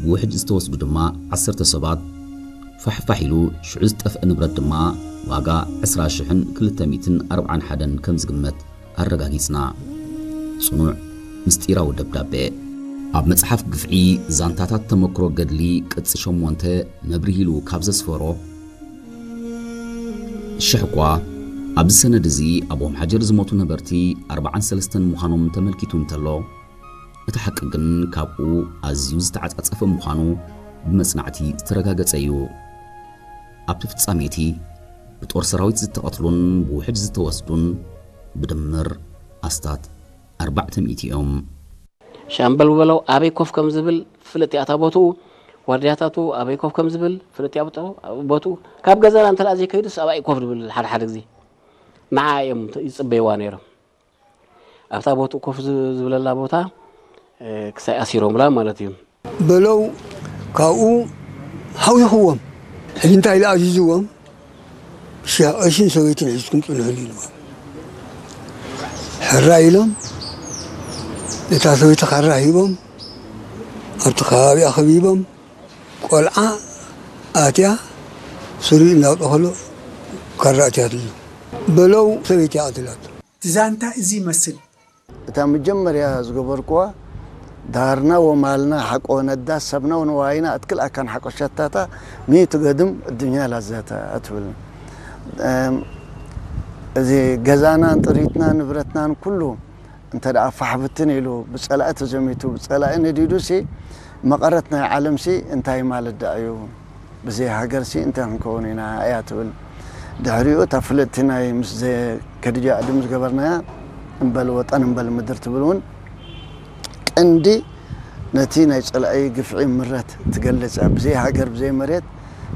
ብውሕጅ ዝተወስዱ ድማ ዓሰርተ ሰባት፣ ፋሕፋሕ ኢሉ ሽዑ ዝጠፍአ ንብረት ድማ ዋጋ ዕስራ ሽሕን ክልተ ሚእትን ኣርብዓን ሓደን ከም ዝግመት ኣረጋጊጽና። ጽኑዕ ምስጢራዊ ደብዳቤ። ኣብ መጽሓፍ ግፍዒ ዛንታታት ተመክሮ ገድሊ ቅጽ ሸሞንተ መብርሂ ኢሉ ካብ ዘስፈሮ፣ ሽሕ እኳ ኣብዚ ሰነድ እዚ ኣብ ኦም ሓጀር ዝሞቱ ነበርቲ ኣርብዓን ሰለስተን ምዃኖም ተመልኪቱ እንተሎ፣ እቲ ሓቂ ግን ካብኡ ኣዝዩ ዝተዓጻጸፈ ምዃኑ ብመጽናዕቲ ዝተረጋገጸ እዩ። ኣብቲ ፍጻሜ እቲ ብጦር ሰራዊት ዝተቐትሉን ብውሕጅ ዝተወስዱን ብድምር ኣስታት ኣርባዕተ ሚእቲ እዮም። ሻምበል በለው ኣበይ ኮፍ ከም ዝብል ፍልጥ እያ እታ ቦትኡ። ዋርድያታቱ ኣበይ ኮፍ ከም ዝብል ፍልጥ እያ ቦትኡ። ካብ ገዛና እንተ ዘይከይዱስ ኣባይ ኮፍ ዝብል ሓደ ሓደ ግዜ ንዓ እዮም ይጽበይዋ ነይሮም። ኣብታ ቦትኡ ኮፍ ዝ- ዝብለላ ቦታ እ፣ ክሳይ ኣሲሮምላ ማለት እዩ። በለው ካብኡ ሓዊኽዎም። ሕጂ እንታይ ኢሉ ኣዚዝዎም? ሸ- ቀሽን ሰበይትን ሒዝኩም ጽንሑሉ ኢልዎም። ሕራይ ኢሎም ነታ ሰበይቲ ካራ ሂቦም ኣብቲ ከባቢኣ ከቢቦም ቆልዓ ኣትያ ስሪ እናጠኸሎ ካራ ኣትያትሉ በለው ሰበይቲ ኣትላት። እቲ ዛንታ እዚ ይመስል። እታ መጀመርያ ዝገበርኩዋ ዳርና ወማልና ሓቆ ነዳ ሰብና ወንዋይና ኣትክል ኣካን ሓቆ ሸታታ ሚእቲ ገድም እድኛ ላዘተ ኣትብል። እም፣ እዚ ገዛናን ጥሪትና ንብረትናን ኩሉ እንተ ደኣ ፋሕብትን ኢሉ ብጸላኢ ተዘሚቱ ብጸላኢ ነዲዱ ሲ መቐረት ናይ ዓለም ሲ እንታይ ማለት ደኣ እዩ? ብዘይ ሃገር ሲ እንታይ ክንከውን ኢና እያ ትብል። ድሕሪኡ እታ ፍልጥቲ ናይ ምስ ዘ- ከድጃ ኣድም ዝገበርናያ እምበል ወጠን እምበል ምድር ትብል እውን ቀንዲ ነቲ ናይ ጸላኢ ግፍዒ ምረት ትገልጽ እያ። ብዘይ ሃገር ብዘይ መሬት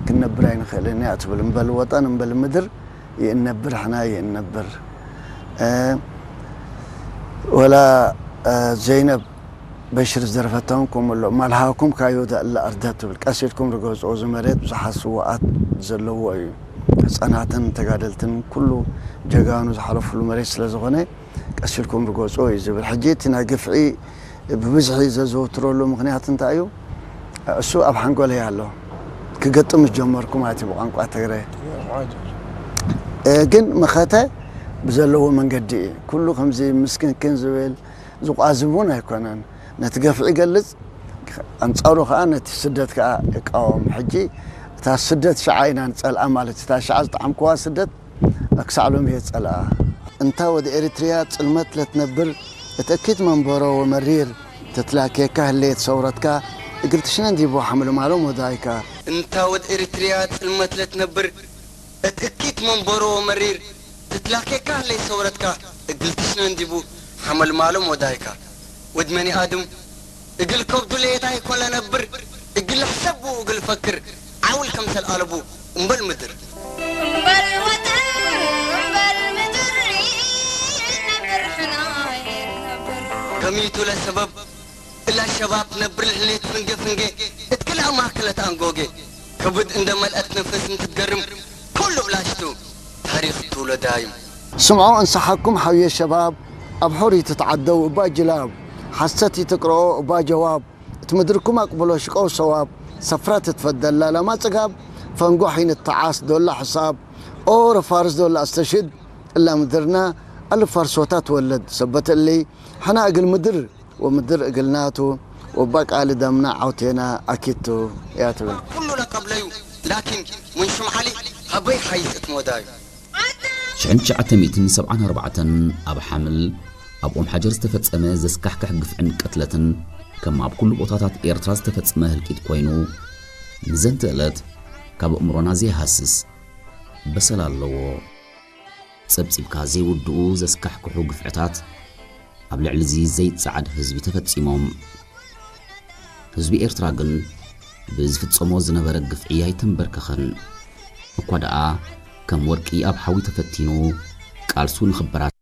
ክንነብር ኣይንኽእልን እያ ትብል። እምበል ወጠን እምበል ምድር ይእነብር ሕና ይእነብር እ፣ ወላ እ፣ ዘይነብ በሽር ዝደረፈቶም ከምኡ ኣሎ ማልሃኩም ካዮ ዘእለ ኣርደት ትብል ቀስ ኢልኩም ርገጽዎ እዚ መሬት ብዙሓት ስውኣት ዘለዎ እዩ ህፃናትን ተጋደልትን ኩሉ ጀጋኑ ዝሓለፍሉ መሬት ስለ ዝኾነ ቀስ ኢልኩም ርገጽዎ እዩ ዝብል ሕጂ እቲ ናይ ግፍዒ ብብዝሒ ዘዘውትረሉ ምኽንያት እንታይ እዩ እሱ ኣብ ሓንጎለይ ኣሎ ክገጥም ዝጀመርኩ ማለት እዩ ብቋንቋ ትግረ እ፣ ግን መኸተ ብዘለዎ መንገዲ እዩ ኩሉ ከምዚ ምስክንክን ዝብል ዝቋዝብ እውን ኣይኮነን ነቲ ገፍዒ ይገልፅ ኣንፃሩ ከዓ ነቲ ስደት ከዓ ይቃወም ሕጂ እታ ስደት ሸዓ ኢና ንፀልኣ ማለት እታ ሸዓ ዝጠዓምክዋ ስደት ክሳዕ ሎሚ እየ ዝፀልኣ እንታ ወደ ኤሪትሪያ ፅልመት ለትነብር እቲ እኪት መንበሮ ወመሪር ተትላኬካ ህለየት ሰውረትካ እግል ትሽነን ዲቦ ሓምልማሎም ወዳይካ እንታ ወደ ኤሪትሪያ ፅልመት ለትነብር እቲ እኪት መንበሮ ወመሪር ትትላኬካ ህለይ ሰውረትካ እግል ትሽነን ዲቡ ሓመልማሎም ወዳይካ ወድ መኒ ኣድም እግል ከብዱ ለየታይ ኮን ለነብር እግል ሕሰብ ብኡ እግል ፈክር ዓውል ከምሰል ኣለቡ እምበል ምድር እምበል ወጠን እምበል ምድር ነብር ሕና ነብር ከሚቱ ለሰበብ እላ ሸባብ ትነብር ልዕሌት ፍንጌ ፍንጌ እትክልኣ ማእከለት ኣንጎጌ ክብድ እንደ መልአት ነፈስ እንትትገርም ኩሉ ብላሽቱ ታሪኽ ትውሎ ዳይም። ስምዖ እንስሓኩም ሓውየ ሸባብ ኣብ ሑር ይትትዓደው እባ ጅላብ ሓሰት ይትቅርኦ እባ ጀዋብ እቲ ምድርኩም ኣቅብሎ ሽቀው ሰዋብ ሰፍራ ትትፈደላ ላማ ጽጋብ ፈንጎሕ ይንተዓስ ዶላ ሕሳብ ኦ ረፋርስ ዶላ ኣስተሽድ እላ ምድርና ኣልፋርሶታ ትወለድ ሰበት እሊ ሕና እግል ምድር ወምድር እግልናቱ ወባቃሊ ደምና ዓውቴና ኣኪቱ እያ ትብል። ኩሉ ለቀብለዩ ላኪን ምን ሹም ዓሊ ሀበይ ሓይስ እትሞዳዩ። ሽሕን ትሽዓተ ሚእትን ሰብዓን ኣርባዕተን ኣብ ሓምል ኣብ ኦም ሓጀር ዝተፈጸመ ዘስካሕክሕ ግፍዕን ቅትለትን ከም ኣብ ኩሉ ቦታታት ኤርትራ ዝተፈጸመ ህልቂት ኮይኑ ንዘንቲ ዕለት ካብ ኣእምሮና ዘይሃስስ በሰል ኣለዎ። ጸብጺብካ ዘይውድኡ ዘስካሕክሑ ግፍዕታት ኣብ ልዕሊ እዚ ዘይጸዓድ ህዝቢ ተፈጺሞም። ህዝቢ ኤርትራ ግን ብዝፍጸሞ ዝነበረ ግፍዒ ኣይተንበርከኸን። እኳ ደኣ ከም ወርቂ ኣብ ሓዊ ተፈቲኑ ቃልሱ ንኽበራትዕ